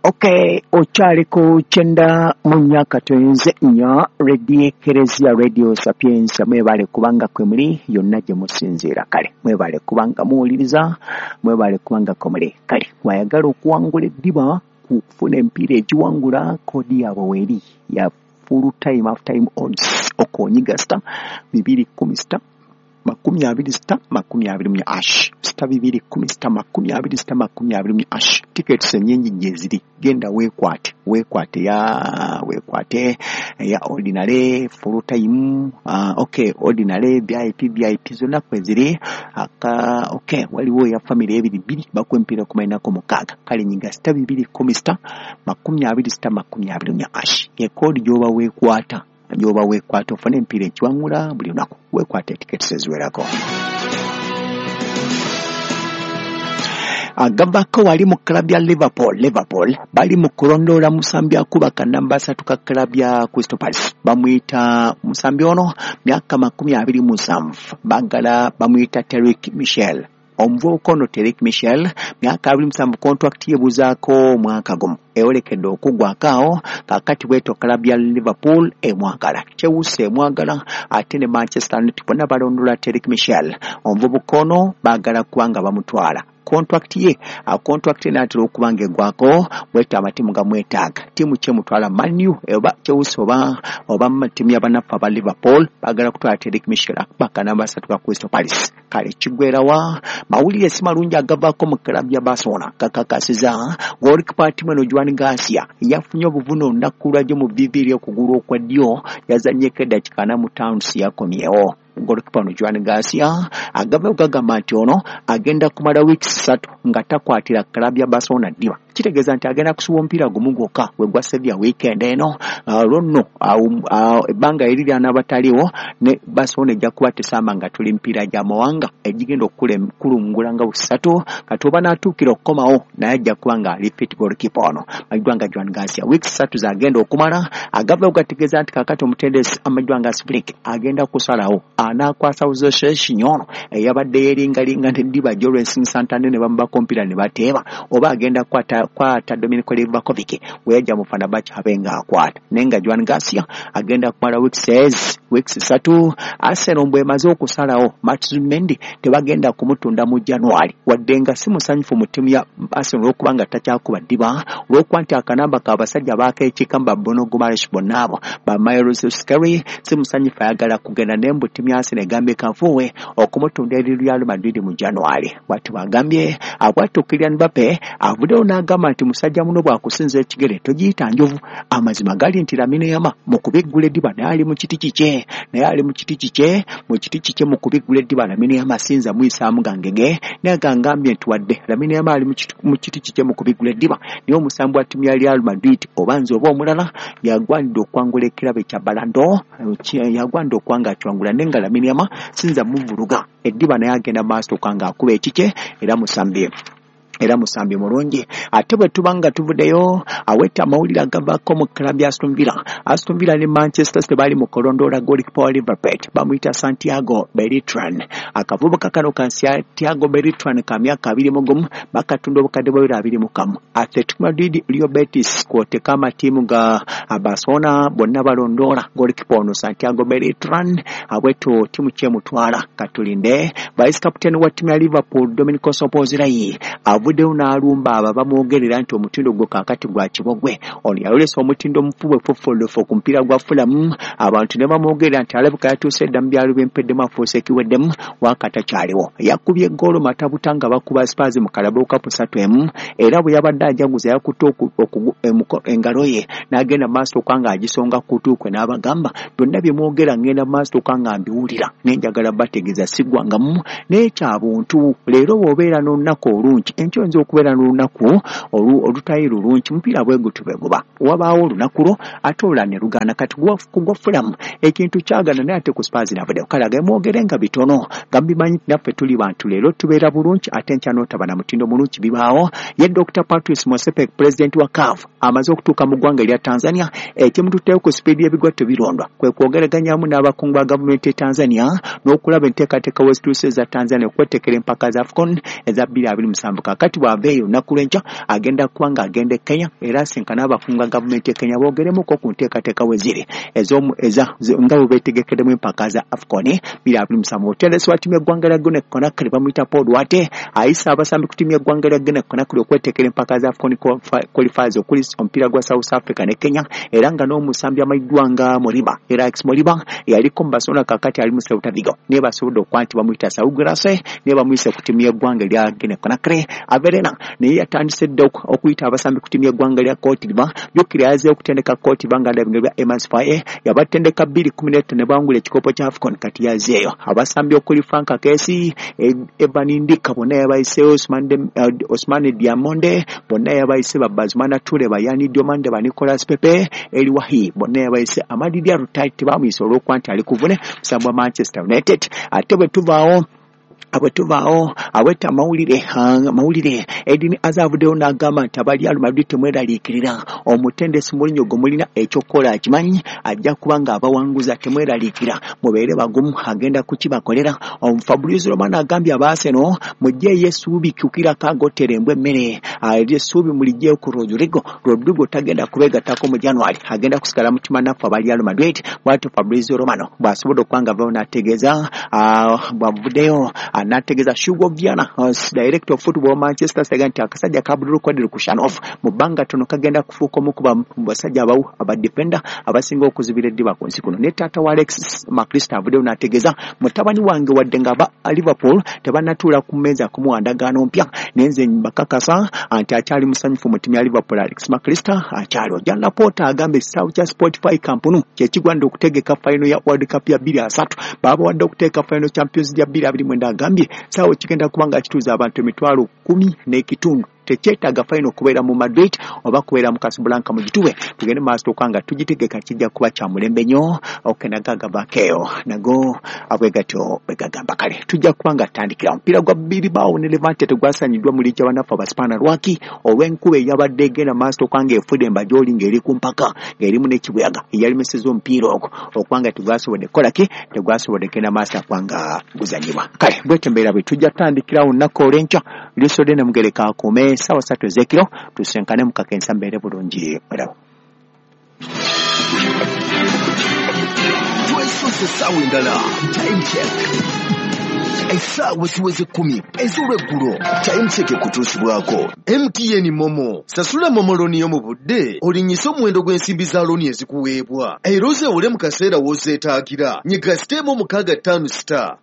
Okay, okyaliko 94.4 Radio Ekereziya, Radio Sapientia. Mwebale kubanga kwe muli yonna gye musinziira. Kale mwebale kubanga muwuliriza, mwebale kubanga kwe muli. Kale mwayagala okuwangula eddiba kufuna empiira egiwangula, koodi yaabwe weeri ya full time half time odds. Okonyiga star 210 star 20 star 24 hash, star 210 star 20 star 24 hash. Tickets ennyingi gye ziri, genda weekwate, weekwate ya weekwate ya ordinary, full time, okay, ordinary, VIP, VIP zonna kwe ziri aka. Okay, waliwo ya family ebiri bbiri bakuwa emipiira 46. Kale nyiga star 210 star 20 star 24 hash, ye koodi gy'oba weekwata, gy'oba weekwata ofune emipiira ekiwangula buli lunaku. Weekwate tickets eziwerako. Agavako wali mu club ya Liverpool. Liverpool bali mu kulondoola musambi akuba kanamba 3 ka club ya Crystal Palace, bamuyita musambi ono myaka 27, bagala bamuyita Tariq Michel. Omuvubuka ono Tariq Michel myaka 27, contract yebuzaako omwaka gumu, eyolekedde okuggwako awo. Kaakati bwetyo club ya Liverpool emwagala, Chelsea emwagala, ate ne Manchester United bonna balondola Tariq Michel. Omuvubuka ono baagala kubanga bamutwala, contract ye contract enaatera okuba nga eggwako, bwetyo amatiimu gamwetaaga. Ttiimu kyemutwala Man U oba Chelsea oba ttiimu y'abannaffe aba Liverpool baagala kutwala Tariq Michel akuba kanamba 3 ka Crystal Palace. Kale kiggwerawa mawulire si malungi agavaako mu club ya Barcelona, kakakasiza goalkeeper ttiimu eno Joan Garcia yafunye obuvune olunaku lwajjo mu vivi ery'okugulu okwa ddyo, yazannyeko eddakiika 45 yakomyewo. Goalkeeper ono Joan Garcia agavayo gagamba nti ono agenda kumala weeks 3 nga takwatira club ya Barcelona ddiba, kitegeeza nti agenda kusuba omupiira gumu gwokka gwe gwa Sevilla weekend eno. Olwo nno ebbanga eri lyanaaba taliiwo ne Barcelona ejja kuba tesamba nga tuli mipiira gya mawanga egigenda okukulungula nga busatu. Kati oba n'atuukira okukomawo naye ajja kuba nga ali fit. Goalkeeper ono amanyiddwa nga Joan Garcia weeks 3 z'agenda okumala. Agavayo gategeeza nti kaakati omutendesi amanyiddwa nga Flick agenda kusalawo anaakwasa Jose ono eyabadde yeeringalinga neddiba Jorensin Santander ne bamubaka omupiira ne bateeba, oba agenda kwata Dominic Livakovic we yajja mu Fenerbahce abe ng'akwata. Naye nga Joan Garcia agenda kumala weeks 3. Arsenal bw'emaze okusalawo Max Mendy tebagenda kumutunda mu January, wadde nga si musanyufu mu ttiimu ya Arsenal olw'okuba nga takyakuba ddiba, olw'okuba nti akanamba k'abasajja baakeekiika ba Bruno Guimaraes bonna abo ba Miles Skelly, si musanyufu ayagala kugenda. Naye mbu ttiimu ya Arsenal egambye kafuuwe okumutunda eri Real Madrid mu January, bw'atyo bagambye. Bw'atyo Kylian Mbappe avuddeyo n'agamba nti musajja muno bw'akusinza ekigere togiyita njovu. Amazima gali nti Lamine Yamal mu kubiggula eddiba naye ali mu kiti kikye, naye ali mu kiti kikye, mu kiti kikye mu kubiggula eddiba. Lamine Yamal sinza muyisaamu gangege, naye gangambye nti wadde Lamine Yamal ali mu kiti kikye mu kubiggula eddiba, naye omusambi wa ttiimu ya Real Madrid oba nze oba omulala yagwanidde okwangula ekirabo ekya Ballon d'Or, yagwanidde okwanga akiwangula, naye nga Lamine Yamal sinza muvuluga eddiba, naye agenda maaso okwanga akuba ekikye, era musambi mulungi. Ate bwe tuba nga tuvuddeyo aweta amawulire agavaako mu club ya Aston Villa. Aston Villa ne Manchester City bali mu kulondoola goalkeeper wa Liverpool bamuyita Santiago Beltran. Akavubuka kano ka Santiago Beltran ka myaka 21, bakatunda obukadde bwa 21. Atletico Madrid, Real Betis kw'oteeka amatiimu ga Barcelona bonna balondoola goalkeeper ono Santiago Beltran. Abwetyo ttiimu kyemutwala katulinde. Vice captain wa ttiimu ya Liverpool Dominic Szoboszlai avuddeyo n'alumba abo bamwogerera nti omutindo gwe kaakati gwa kibogwe. Ono yayolesa omutindo omufu bwefoffolofo ku mupiira gwa Fulham, abantu ne bamwogerera nti alabika yatuuse dda mu byalo by'empeddemu afuuse ekiweddemu, waakatakyaliwo. Yakubye eggoolo matabuta nga bakuba Spurs mu Carabao Cup 3-1, era bwe yabadde ajaguza yakutte engalo ye n'agenda mu maaso okuba ng'agisonga ku kutu kwe n'abagamba byonna bye mwogera ngenda mu maaso okuba nga mbiwulira, naye njagala bategeeza siggwangamu naye kya buntu. Leero bw'obeera n'olunaku olungi, enkya oyinza okubeera n'olunaku olutali lulungi, mupiira bwe gutyo bwe guba, wabaawo olunaku lwo ate olulala ne lugaana. Kati kugwa Fulham ekintu kyagaana, naye ate ku Spurs navuddeyo. Kale agemwogere nga bitono nga mubimanyi naffe tuli bantu, leero tubeera bulungi ate enkya n'otaba na mutindo mulungi, bibaawo. Ye Dr. Patrice Motsepe president wa CAF amaze okutuuka mu ggwanga erya Tanzania, ekimututteyo ku sipiidi y'ebigwa tebirondwa kwe kwogereganyamu n'abakungu ba gavumenti e Tanzania n'okulaba enteekateeka wezituuse eza Tanzania okwetekera empaka za AFCON eza 2027. Kaakati Kakati bw'ava eyo olunaku lw'enkya agenda kuba nga agenda e Kenya era asinkana abakunga gavumenti e Kenya boogeremuko ku nteekateeka we ziri nga bwe beetegekeddemu empaka za AFCON 2027. Omutendesi wa ttiimu y'eggwanga lya Guinea Conakry bamuyita Paul Duarte ayise abasambi ku ttiimu y'eggwanga lya Guinea Conakry okwetekera empaka za AFCON qualifiers okuli omupiira gwa South Africa ne Kenya, era nga n'omusambi amanyiddwa nga Moriba, era Alex Moriba yaliko mu Barcelona, kakati ali mu Celta Vigo, naye basobodde okuba nti bamuyita Saul Guirassy, naye bamuyise ku ttiimu y'eggwanga erya Guinea Conakry. Averena naye yatandise dda okuyita abasambi ku ttiimu y'eggwanga lya Cote d'Ivoire. Jjukira yazzeeyo okutendeka Cote d'Ivoire nga ndabinga bya Emerse Faé, yabatendeka 2015 ne bawangula ekikopo kya AFCON. Kati yazzeeyo abasambi okuli Frank Kessié, Evan Ndicka, bonna yabayiseeyo, Ousmane Diomande bonna yabayise, ba Bazoumana Toure, ba Yan Diomande, ba Nicolas Pepe, Elye Wahi bonna yabayise. Amad Diallo tebamuyise olw'okuba nti ali kuvune musambi wa Manchester United. Ate bwe tuvaawo aweta amawulire, Eden Hazard avuddeyo n'agamba nti aba Real Madrid temweraliikirira, omutendesi Mourinho gwe mulina ekyokukola akimanyi, ajja kuba ng'abawanguza, temweraliikira, mubeere bagumu, agenda kukibakolera. Fabrizio Romano agambye aba Arsenal mugyeyo essuubi kukirako agotera embwa emmere, eri essuubi muliggyeyo ku Rodrigo. Rodrigo tagenda kubeegattako mu January, agenda kusigala mutima naffe aba Real Madrid. Bw'atyo Fabrizio Romano bw'asobodde okuba nga avayo n'ategeeza, bw'avuddeyo n'ategeeza Hugo Viana, director of football Manchester City, nti akasajja ka Abdulkadir Khusanov mu bbanga ttono kagenda kufuuka omu ku basajja aba defender abasinga okuzibira eddiba ku nsi kuno. Ne taata wa Alexis Mac Allister avuddeyo n'ategeeza, mutabani wange wadde nga aba Liverpool tebannatuula ku mmeeza kumuwa ndagaano mpya, naye nze mbakakasa nti akyali musanyufu mu ttiimu ya Liverpool. Alex Mac Allister akyaliwo. Joan Laporta agamba ekisaawe kya Spotify Camp Nou kyekigwanidde okutegeka final ya World Cup ya 2030. Babawadde okuteeka final Champions ya 2029, agambye saawa kigenda kuba nga kituuza abantu 105,000, tekyetaaga final kubeera mu Madrid oba kubeera mu Casablanca, mugituwe tugende maaso okuba nga tugitegeka, kijja kuba kya mulembe nnyo. Okenagagavakeeyo nago bwe gatyo bwe gagamba. Kale tujja kuba nga tutandikira omupiira gwa Bilbao ne Levante tegwasanyiddwa mu liigi y'abanafu Abaspaana. Lwaki? Olw'enkuba eyabadde egenda maaso okuba nga efudde embajooli ng'eri ku mpaka ng'erimu n'ekibuyaga eyalemeseza omupiira ogwo okuba nga tegwasobodde kukola ki, tegwasobodde kugenda maaso akuba nga guzanyibwa. Kale bwetyo embeera bwe tujja tutandikirawo olunaku olw'enkya. Lisodde ne mugereka akuume, 3:00 ez'ekiro tusenkane mu kakensa. Mbeere bulungi, mweraba. Twesoose essaawa endala, Time Check. Essaawa ziweze 10 ez'olweggulo. Time Check ekutuusibwako MTN MoMo. Sasula MoMo loan yo mu budde, olinyise omuwendo gw'ensimbi za loan ezikuweebwa, era ozeewole mu kaseera w'ozeetaagira. Nyiga star 665 star.